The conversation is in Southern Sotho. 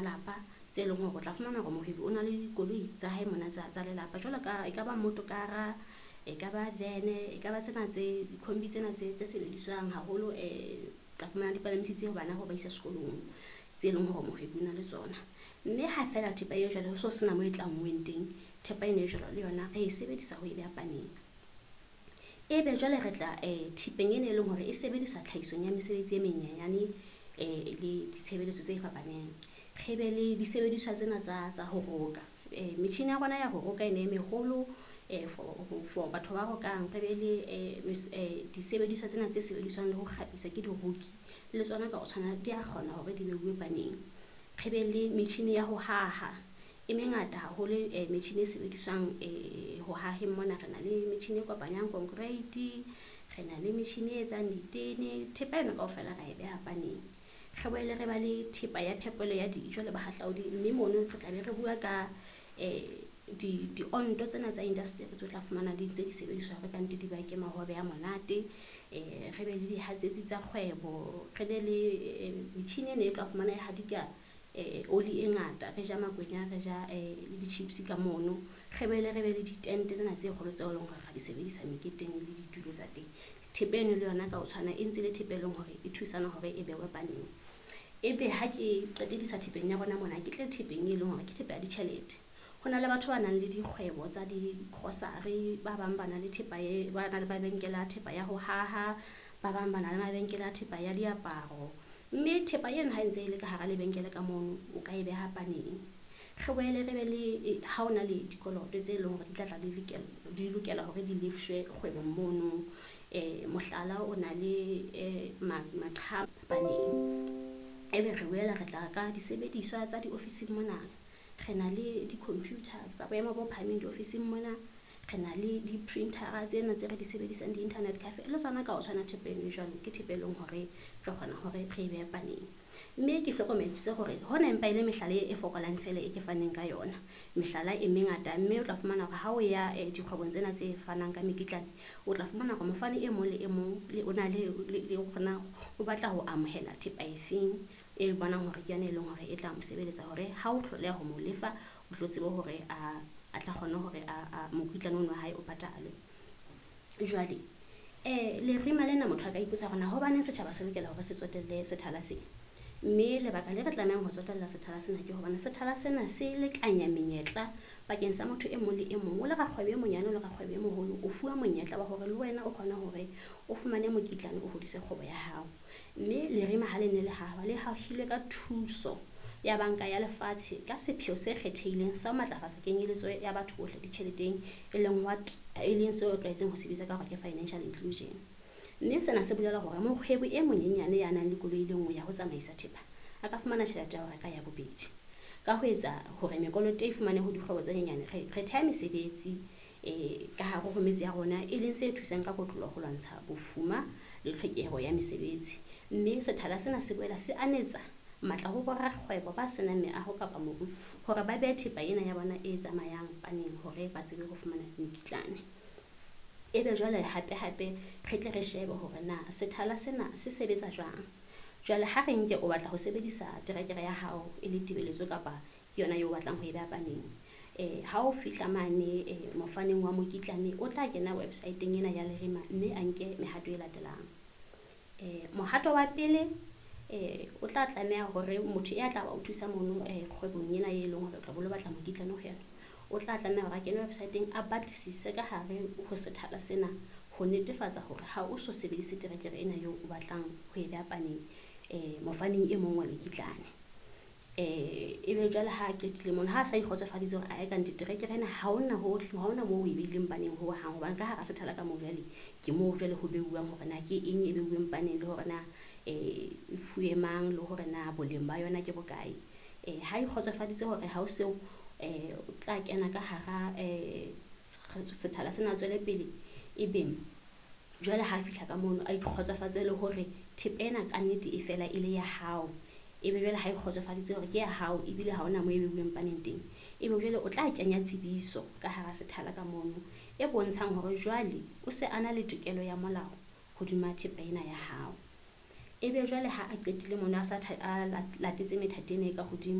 malapa tse leng hore o tla fumana hore mohwebi o na le dikoloi tsa hae mona tsa lelapa. Jwalo ka e ka ba motokara, e ka ba van-e, e ka ba tsena tse dikhombi tsena tse sebediswang haholo. Tla fumana di palamisitse bana ho ba isa sekolong tse leng hore mohwebi o na le tsona. Mme ha feela thepa e jwalo ho so sena moo e tlanngweng teng. Thepa ena e jwalo le yona re e sebedisa ho e beha paneng. Ebe jwale re tla thepeng ena e leng hore e sebediswa tlhahisong ya mesebetsi e menyenyane le ditshebeletso tse fapaneng. Re be le disebediswa tsena tsa ho roka. Metjhini ya rona ya ho roka ena e meholo for batho ba rokang. Re be le disebediswa tsena tse sebediswang le ho kgabisa ke diroki le tsona ka ho tshwana di a kgona hore di beuwe paneng. Re be le metjhini ya ho haha e mengata haholo, metjhini e sebediswang ho haheng mona. Re na le metjhini e kopanyang concrete, re na le metjhini e etsang ditene. Thepa ena kaofela ra e beha paneng. Re boele re ba le thepa ya phepelo ya dijo le bahahlaodi, mme mono re tla be re bua ka dionto tsena tsa indasteri tseo tla fumana di ntse di sebediswa hore kannete di bake mahobe a monate. Re be le dihatsetsi tsa kgwebo, re be le metjhini ena e tla fumana e hadika oli e ngata. Re ja makwenya, re ja le di-chips ka mono. Re boele re be le ditente tsena tse kgolo tseo e leng hore ra di sebedisa meketeng le ditulo tsa teng. Thepa eno le yona ka ho tshwana e ntse le thepa e leng hore e thusana hore e behwe paneng. Ebe ha ke qetedisa thepeng ya rona mona, ke tle thepeng e leng hore ke thepa ya ditjhelete. Ho na le batho ba nang le dikgwebo tsa di-grocery, ba bang ba na le thepa e ba na le mabenkele a thepa ya ho haha, ba bang ba na le mabenkele a thepa ya diaparo. Mme thepa eno ha e ntse e le ka hara lebenkele ka mono, o ka e beha paneng. Re boele re be le ha ona le dikoloto tse leng hore di tla tla di lokela hore di lefshwe kgwebong mono. Mohlala, o na le paneng. Ebe re boela re tla ka disebediswa tsa diofising mona. Re na le di-computer tsa boemo bo phahameng diofising mona. Re na le di-printer-a tsena tse re di sebedisang di-internet cafe le tsona ka ho tshwana thepa eno e jwalo ke thepa e leng hore re kgona hore re e behe paneng. Mme ke hlokomedisitse hore hona empa e le mehlala e fokolang fela e ke faneng ka yona. Mehlala e mengata, mme o tla fumana hore ha o ya dikgwebong tsena tse fanang ka mekitlane, o tla fumana hore mofani e mong le e mong le o na le hore na o batla ho amohela thepa efeng e bonang hore ke yona e leng hore e tla mo sebeletsa hore ha o hloleha ho mo lefa, o tlo tsebe hore a tla kgona hore a mokitlane ono wa hae o patalwe. Jwale lerima lena motho a ka ipotsa hore na hobaneng setjhaba se lokela hore se tsotelle sethala se. Mme lebaka le re tlamehang ho tsotella sethala sena ke hobane sethala sena se lekanya menyetla bakeng sa motho e mong le e mong. O le rakgwebo e monyane, o le rakgwebo e moholo, o fuwa monyetla wa hore le wena o kgone hore o fumane mokitlane o hodise kgwebo ya hao. Mme lerima ha le ne le hahwa, le hahilwe ka thuso ya Banka ya Lefatshe ka sepheo se kgethehileng sa ho matlafatsa kenyeletso ya batho bohle ditjheleteng, e leng what e leng seo re tlwaetseng ho se bitsa ka hore ke financial inclusion. Mme sena se bolela hore mokgwebi e monyenyane ya nang le koloi e le nngwe ya ho tsamaisa thepa a ka fumana tjhelete ya ho reka ya bobedi. Ka ho etsa hore mekoloto e fumane ho dikgwebo tse nyenyane, re theha mesebetsi ka hare ho metse ya rona, e leng se thusang ka kotloloho ho lwantsha bofuma le tlhokeho ya mesebetsi. Mme sethala sena se boela se anetsa matla ho borakgwebo ba senang meaho kapa mobu hore ba behe thepa ena ya bona e tsamayang paneng hore ba tsebe ho fumana mekitlane. Ebe jwale hape hape re tle re shebe hore na sethala sena se sebetsa jwang. Jwale ha re nke o batla ho sebedisa terekere ya hao e le tebeletso kapa ke yona eo o batlang ho e beha paneng. Ha o fihla mane mofaneng wa mokitlane, o tla kena website-eng ena ya Lerima mme a nke mehato e latelang. Mohato wa pele, o tla tlameha hore motho ya tla ba o thusa mono kgwebong ena e leng hore o tla be o lo batla mokitlane ho yona, o tla tlameha hore a kene website-eng a batlisise ka hare ho sethala sena ho netefatsa hore ha o so sebedise terekere ena eo o batlang ho e beha paneng mofaneng e mong wa mekitlane. Ebe jwale ha a qetile mono, ha a sa ikgotsofaditse hore ae kannete terekere ena ha hona hohle, ha hona moo o e beileng paneng ho hang. Hobane ka hara sethala ka moo jwale ke moo jwale ho beuwang hore na ke eng e beuweng paneng le hore na e fuwe mang, le hore na boleng ba yona ke bokae. Ha ikgotsofaditse hore ha o seo, o tla kena ka hara sethala sena tswele pele. Ebe jwale ha fihla ka mono, a ikgotsofatse le hore thepa ena ka nnete e fela e le ya hao. Ebe jwale ha e kgotsofaditse hore ke ya hao ebile ha hona moo e beuweng paneng teng. Ebe jwale o tla kenya tsebiso ka hara sethala ka mono e bontshang hore jwale o se a na le tokelo ya molao hodima thepa ena ya hao. Ebe jwale ha a qetile mono a sa a latetse methati ena e ka hodimo.